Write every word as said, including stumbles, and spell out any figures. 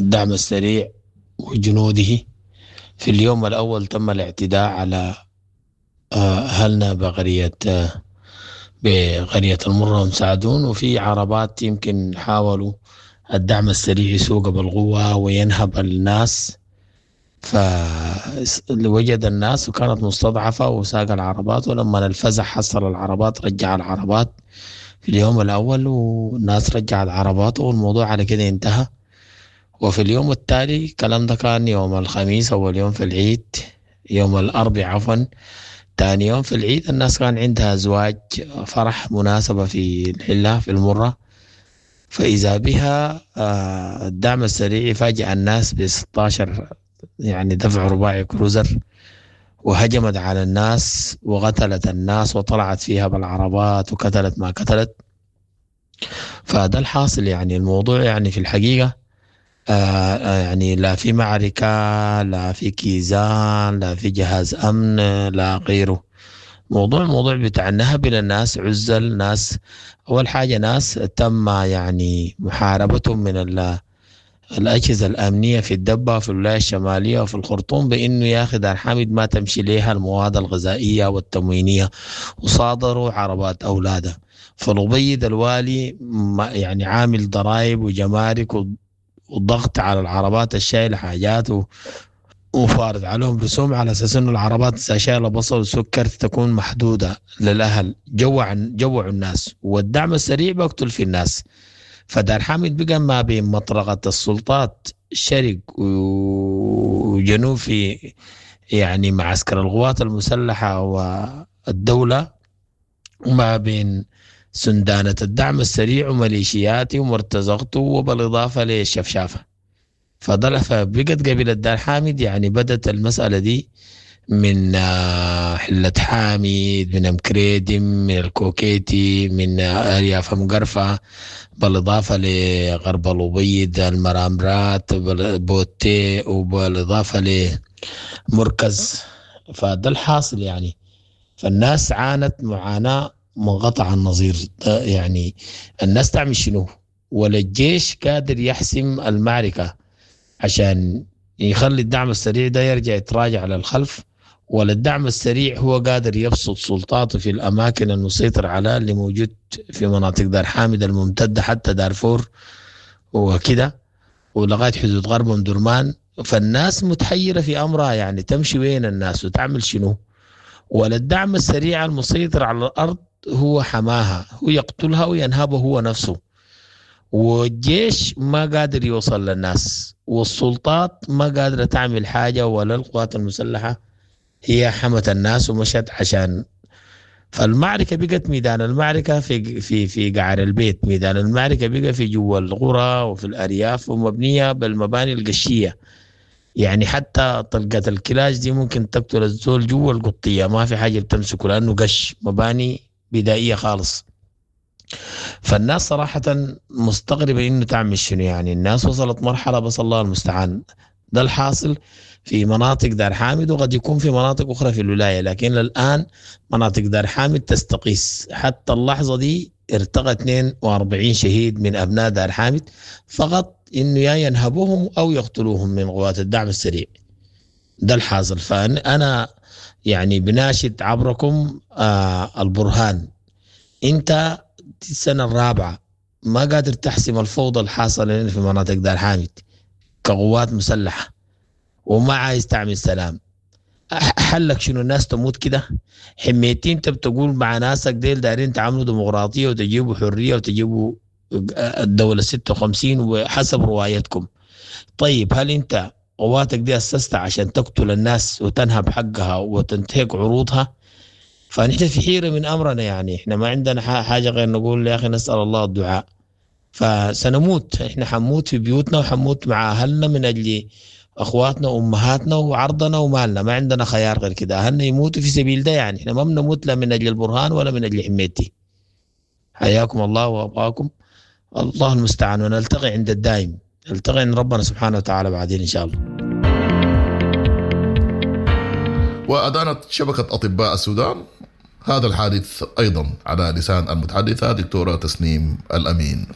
الدعم السريع وجنوده. في اليوم الأول تم الاعتداء على أهلنا بقرية، بقرية المرة ومساعدون، وفي عربات يمكن حاولوا الدعم السريع يسوق بالقوة وينهب الناس، فوجد الناس وكانت مستضعفة وساق العربات، ولما الفزع حصل العربات رجع العربات في اليوم الأول، والناس رجع العربات والموضوع على كده انتهى. وفي اليوم التالي الكلام ده كان يوم الخميس أول يوم في العيد، يوم الأربعاء عفوا تاني يوم في العيد، الناس كان عندها زواج فرح مناسبة في الحلة في المرة، فإذا بها، آه، الدعم السريع فاجأ الناس ب ستاشر يعني دفع رباعي كروزر، وهجمت على الناس وقتلت الناس وطلعت فيها بالعربات وقتلت ما قتلت. فده الحاصل يعني الموضوع يعني في الحقيقة، آه، آه، يعني لا في معركة، لا في كيزان، لا في جهاز أمن، لا غيره. موضوع الموضوع بتاع النهب للناس، عزل ناس. أول حاجة ناس تم يعني محاربتهم من ال-، الأجهزة الأمنية في الدبة في الولاية الشمالية وفي الخرطوم بإنه يا أخي دار حامد ما تمشي ليها المواد الغذائية والتموينية، وصادروا عربات أولادها. فالأبيض الوالي ما يعني عامل ضرائب وجمارك و-، وضغط على العربات الشايلة حاجات و-، وفارض عليهم رسوم على أساس إنه العربات إذا شايلة بصل وسكر تكون محدودة للأهل. جوع، جوعوا الناس، والدعم السريع بقتل في الناس. فدار حامد بقى ما بين مطرقة السلطات شرق وجنوب في يعني معسكر القوات المسلحة والدولة، وما بين سندانة الدعم السريع وميليشياتي ومرتزقته، وبالإضافة للشفشافة. فضل فبقت قبيلة دار حامد يعني بدت المسألة دي من، آه، حلة حامد، من أمكريدم، من الكوكيتي، من، آه، أرياف مقرفة، بالإضافة لغرب الأبيض، المرامرات، بال-، بوتي، وبالإضافة لمركز. فده الحاصل يعني. فالناس عانت معاناة منقطع النظير. يعني الناس تعمل شنو؟ ولا الجيش قادر يحسم المعركة عشان يخلي الدعم السريع ده يرجع يتراجع للخلف، ولا الدعم السريع هو قادر يبسط سلطاته في الأماكن المسيطر عليها اللي موجود في مناطق دار حامد الممتدة حتى دارفور وكده ولغاية حدود غرب أم درمان. فالناس متحيرة في أمرها، يعني تمشي وين الناس وتعمل شنو؟ ولا الدعم السريع المسيطر على الأرض هو حماها، هو يقتلها وينهبه هو نفسه، والجيش ما قادر يوصل للناس، والسلطات ما قادرة تعمل حاجة، ولا القوات المسلحة هي حمت الناس ومشت عشان. فالمعركة بقت ميدان المعركة في، في، في قعر البيت، ميدان المعركة بقى في جوا القرى وفي الأرياف، ومبنية بالمباني القشية. يعني حتى طلقة الكلاش دي ممكن تقتل الزول جوا القطية، ما في حاجة بتمسكه لأنه قش، مباني بدائية خالص. فالناس صراحة مستغربة إنه تعمل شنو. يعني الناس وصلت مرحلة بس الله المستعان. ده الحاصل في مناطق دار حامد، وقد يكون في مناطق أخرى في الولاية، لكن الآن مناطق دار حامد تستقيس. حتى اللحظة دي ارتقى اثنين وأربعين شهيد من أبناء دار حامد فقط، إنه يا ينهبوهم أو يقتلوهم من قوات الدعم السريع. ده الحاصل. فأنا يعني بناشد عبركم، آه، البرهان، أنت السنة الرابعة ما قادر تحسم الفوضى الحاصلة في مناطق دار حامد كقوات مسلحة، وما عايز تعمل سلام. أح-، حلك شنو؟ الناس تموت كده؟ حميتين انت بتقول مع ناسك ديل دايرين تعملوا ديمقراطية وتجيبوا حرية وتجيبوا الدولة ستة وخمسين وحسب روايتكم. طيب هل انت قواتك دي أسستها عشان تقتل الناس وتنهب حقها وتنتهك عروضها؟ فنحن في حيرة من أمرنا، يعني احنا ما عندنا ح-، حاجة غير نقول يا أخي نسأل الله الدعاء. فسنموت، احنا حنموت في بيوتنا وحنموت مع أهلنا من أجل أخواتنا وأمهاتنا وعرضنا ومالنا، ما عندنا خيار غير كده. أهلنا يموتوا في سبيل ده، يعني احنا ما بنموت لا من أجل البرهان ولا من أجل حميتي. حياكم الله وأبقاكم، الله المستعان، ونلتقي عند الدائم، نلتقي عند ربنا سبحانه وتعالى بعدين إن شاء الله. وأدانت شبكة أطباء السودان هذا الحادث أيضا على لسان المتحدثة دكتورة تسنيم الأمين.